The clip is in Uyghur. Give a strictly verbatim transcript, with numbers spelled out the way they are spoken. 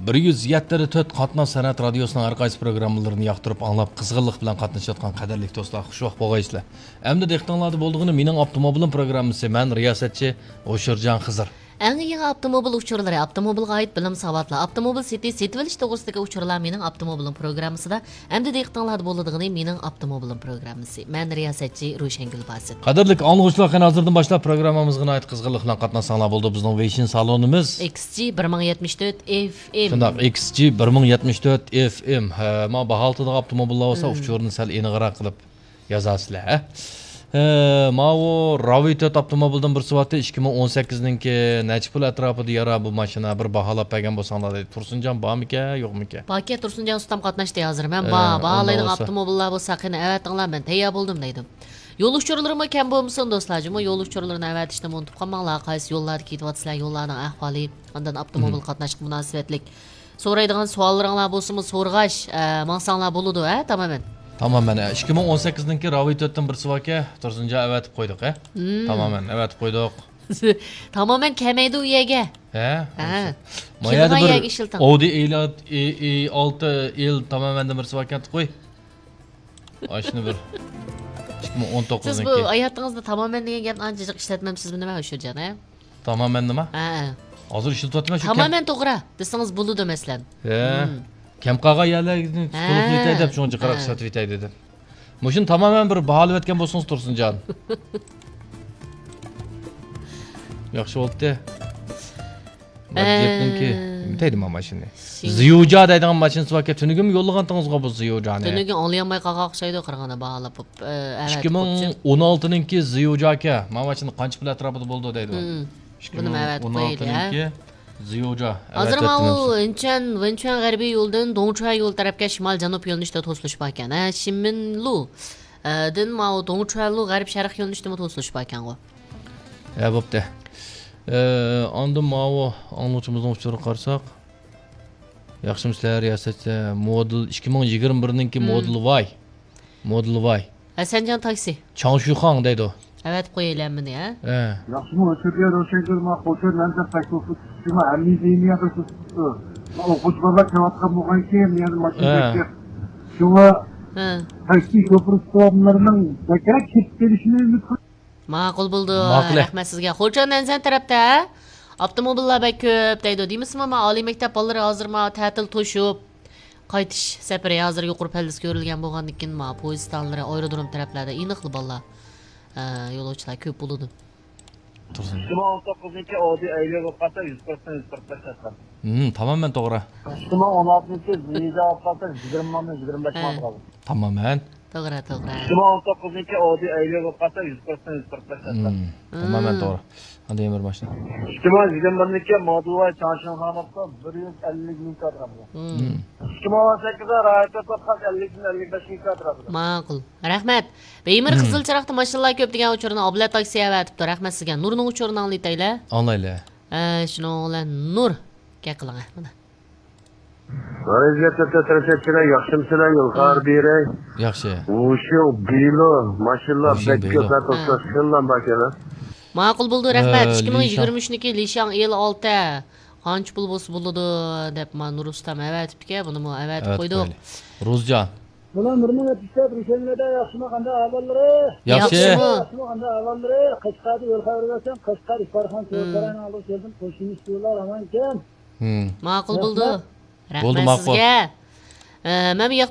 بىر يۈز يەتتە تۆت قاتناش سەنئەت رادىيوسىنىڭ ھەر قايسى پروگراممىلىرىنى ياقتۇرۇپ ئاڭلاپ، قىزغىنلىق بىلەن قاتنىشىۋاتقان قەدىرلىك دوستلار، خۇشۋاق بولغايسىلەر. ئەمدى دىققىتىڭلاردا بولىدىغىنى مېنىڭ ئاپتوموبىلىم پروگراممىسى. مەن رىياسەتچى ھوشۇرجان خىزىر. ئەڭ يېڭى ئاپتوموبىل ئۇچۇرلىرى، ئاپتوموبىلغا ئائىت بىلىم ساۋاتلار، ئاپتوموبىل سېتىش، سېتىۋېلىش توغرىسىدىكى ئۇچۇرلار مېنىڭ ئاپتوموبىلىم پروگراممىسىدا. ئەمدى دىققىتىڭلاردا بولىدىغىنى مېنىڭ ئاپتوموبىلىم پروگراممىسى. مەن رىياسەتچى روشەنگۈل باسىت. قەدىرلىك ئاڭلىغۇچىلار، قېنى ھازىردىن باشلاپ پروگراممىمىزغا ناھايىتى قىزغىنلىق بىلەن قاتناشساڭلار بولىدۇ. بىزنىڭ ۋېيشىن سالونىمىز. ئېكس جى بىر مىڭ يەتمىش تۆت ئېف ئېم. شۇنداق، ئېكس جى بىر مىڭ يەتمىش تۆت ئېف ئېم. ھە، مانا باھالىتىدىغان ئاپتوموبىللار بولسا، مم، ئۇچۇرنى سەل ئېنىقراق قىلىپ يازارسىلەر، ھە؟ ھە، ماۋۇ راۋى تۆت ئاپتوموبىلدىن بىرسى بارتى، ئىككى مىڭ ئون سەككىزنىڭكى نەچچە پۇل ئەتراپىدا يارا بۇ ماشىنا، بىر باھالاپ بەرگەن بولساڭلار دەيدۇ. تۇرسۇنجان بارمىكەن، يوقمىكەن؟ باركەن، تۇرسۇنجان ئۇستام قاتناشتى ھازىر. مەن ھە، بار، ئۇنداق باھالايدىغان بولسا. ئاپتوموبىللار بولسا قېنى ئەۋەتىڭلار، مەن تەييار بولدۇم دەيدۇ. يول ئۇچۇرلىرىمۇ كەم بولمىسۇن دوستلار، جۇمۇ يول ئۇچۇرلىرىنى ئەۋەتىشنى ئۇنتۇپ قالماڭلار. قايسى يوللاردا كېتىۋاتىسىلەر، يوللارنىڭ ئەھۋالى، ئاندىن ئاپتوموبىل مم، قاتناشقا مۇناسىۋەتلىك سورايدىغان سوئاللىرىڭلار بولسىمۇ سورىغاچ، ئە، ماڭساڭلار بولىدۇ، ھە، تامامەن. تامامەن، ھە. ئىككى مىڭ ئون سەككىزنىڭكى راۋى تۆتتىن بىرسى باركەن، تۇرسۇنجان ئەۋەتىپ قويدۇق، ھە. مم. تامامەن، ئەۋەتىپ قويدۇق. تامامەن كەلمەيدۇ ئۇ يەرگە. ھە؟ ھە. ما يەردە كېلىدىغان بىر يەرگە ئىشلىتىڭ. ئودى ئېي ئالتە، ئېي، ئېي ئالتە ئېل تامامەندىن بىرسى باركەن، قوي. ئاشۇنى بىر ئىككى مىڭ ئون توققۇزنىڭكى. سىز بۇ ھاياتىڭىزدا تامامەن دېگەن گەپنى ئانچە جىق ئىشلەتمەمسىزمۇ نېمە، ھوشۇرجان، ھە؟ تامامەن نېمە؟ ھە. ھازىر ئىشلىتىۋاتىمەن شۇ. تامامەن توغرا دېسىڭىز بولىدۇ، مەسىلەن. ھە. مم. كەم قالغان يەرلەرنى ھە، تولۇقلاۋېتەي دەپ، شۇنچە قاراق ھە، ئىشلىتىۋېتەي دېدىم. مۇشۇنى تامامەن بىر باھالىۋەتكەن بولسىڭىز، تۇرسۇنجان. ياخشى بولدى. ئە، ماجىپنىڭكى نېمە دەيدۇ ما ماشىنىنى؟ شىڭ- زيۇجا دەيدىغان ماشىنىسى باركەن. تۈنۈگۈنمۇ يوللىغانتىڭىزغۇ بۇ زيۇجانى؟ تۈنۈگۈن ئاڭلىيالماي قالغان ئوخشايدۇ، قارىغاندا باھالاپ بوپ، ئە، ئەۋەتىپ بوپچۇ. ئىككى مىڭ ئون ئالتىنىڭكى زيۇجاكەن. ما ماشىنا قانچە پۇل ئەتراپىدا بولىدۇ دەيدۇ. مم. بۇنى ئەۋەتىپ قويايلى، ھە؟ ئىككى مىڭ ئون ئالتىنىڭكى زيۇجا. ھازىر ماۋۇ ئىنچۈەن، ۋېنچۈەن غەربىي يولىدىن دوڭچۈەن يول تەرەپكە شىمال جەنۇب يۆنىلىشتە توسۇلۇش باركەن. ھە، شىمىنلۇ، ئە، دىن ماۋۇ دوڭچۈەنلۇ غەرب شەرق يۆنىلىشتىمۇ توسۇلۇش باركەنغۇ. ھە، بوپتۇ. ئە، ئاندىن ماۋۇ ئاڭلىغۇچىمىزنىڭ ئۇچۇرىغا قارىساق. ياخشىمۇ سىلەر، رىياسەتچى؟ مودېل ئىككى مىڭ يىگىرمە بىرنىڭكى مم، مودېل ۋاي. مودېل ۋاي. ھەسەنجان تاكسى. چاڭشۈخاڭ دەيدۇ. ئەۋەتىپ قويايلى ھەممىنى، ھە؟ ھە. ياخشىمۇ ئۆتۈپ بېرىڭ، شەكىر، ما خوتۇن، مەن دەپ تاكسى ئۇسۇل، شۇما ھەممە دېمىيە بىر تۇتۇپتۇ. ما ئوقۇغۇچى بالىلار كېلىۋاتقان بولغانكىن، يەنە ماشىنا ھە، بېكىتىپ. شۇڭا ھە، تاكسى شوپۇر ئۇستازلىرىنىڭ بەكرەك كېتىپ قېلىشىنى ئۈمىد قىلىمەن. ماقۇل بولدى. ماقۇل. رەھمەت سىزگە. خوجان ئەنزەن تەرەپتە ئاپتوموبىللار بەك كۆپ دەيدۇ. دېمىسىمۇ، ما ئالىي مەكتەپ بالىلىرى ھازىر ما تەتىل توشۇپ، قايتىش سەپىرى ھازىر يۇقىرى پەللىسى كۆرۈلگەن بولغاندىكىن، ما پويىز ئىستانلىرى، ئايرودروم تەرەپلەردە ئېنىقلا بالىلار، ئە، يولۇچىلار كۆپ بولىدۇ. تۇرسۇن. ئىككى مىڭ ئون توققۇزنىڭكى ئودى ئەيلى بولۇپ قالسا، يۈز پىرسەنت، يۈز قىرىق بەش ئەتراپىدا. ھىم، تامامەن توغرا. ئىككى مىڭ ئون ئالتىنچى زىيىدا بولۇپ قالسا، يىگىرمە مىڭدىن يىگىرمە بەش ھە، مىڭغا قالدى. تامامەن. توغرا، توغرا. ئىككى مىڭ ئون توققۇزنىڭكى ئودى ئەيلى بولۇپ قالسا، يۈز پىرسەنت، يۈز قىرىق بەش ئەتراپىدا. ھىم، تامامەن توغرا. ئاندىن يەنە بىر ماشىنا. ئىككى مىڭ يىگىرمە بىرنىڭكى مودېل ۋاي چاڭشىڭخاڭ بولسا، بىر يۈز ئەللىك مىڭ ئەتراپىدا. ھىم. ئىككى مىڭ ئون سەككىزدە رايىت توققۇز ئەللىكتىن ئەللىك بەش مىڭ ئەتراپىدا. ماقۇل. رەھمەت. بەيمىر مم. قىزىل چىراغدا ماشىنىلار كۆپ دېگەن ئۇچۇرنى ئابلەت تاكسى ئەۋەتىپتۇ. رەھمەت سىزگە. نۇرنىڭ ئۇچۇرىنى ئاڭلىتايلى. ئاڭلايلى. ئە، شۇنىڭ بىلەن نۇر. گەپ قىلىڭ، ھە، مانا. رەزىيەت ئۆتە تىرىشەتچىلەر، ياخشىمۇسىلەر، يول خەۋەر بېرەي. ياخشى. ۋۇشيۇڭ بىلو، ماشىنىلار ۋۇشيۇڭ بەك بىلو. كۆپ، ھە، توسۇلۇش ھە. قىلىنغان باركەن، ھە. ماقۇل بولدى، رەھمەت. ئە، ئىككى مىڭ يىگىرمە ئۈچنىڭكى لىشاڭ ئېل ئالتە. قانچە پۇل بولسا بولىدۇ، دەپ، ما نۇر ئۇستام ئەۋەتىپتىكەن، بۇنىمۇ ئەۋەتىپ ئەۋەتىپ قويدۇق. قويدى. رۇزجان. بۇلار بىر مىڭ يەتمىش تۆت روشەنگۈلدە ياخشىمۇ، قانداق ئەھۋاللىرى؟ ياخشى. ياخشىمۇ؟ ياخشىمۇ، قانداق ئەھۋاللىرى؟ قەشقەردە يول خەۋىرى بەرسەڭ، قەشقەر ئىپارخان مم. سوۋغاتخانىنىڭ ئالدىغا كەلدىم، قوشنىمىز شۇلار ئامانكەن. مم. ماقۇل بولدى. رەھمەت. رەھمەت بولدى، ماقۇل. سىزگە. ئە، مەن بۇ ياقتا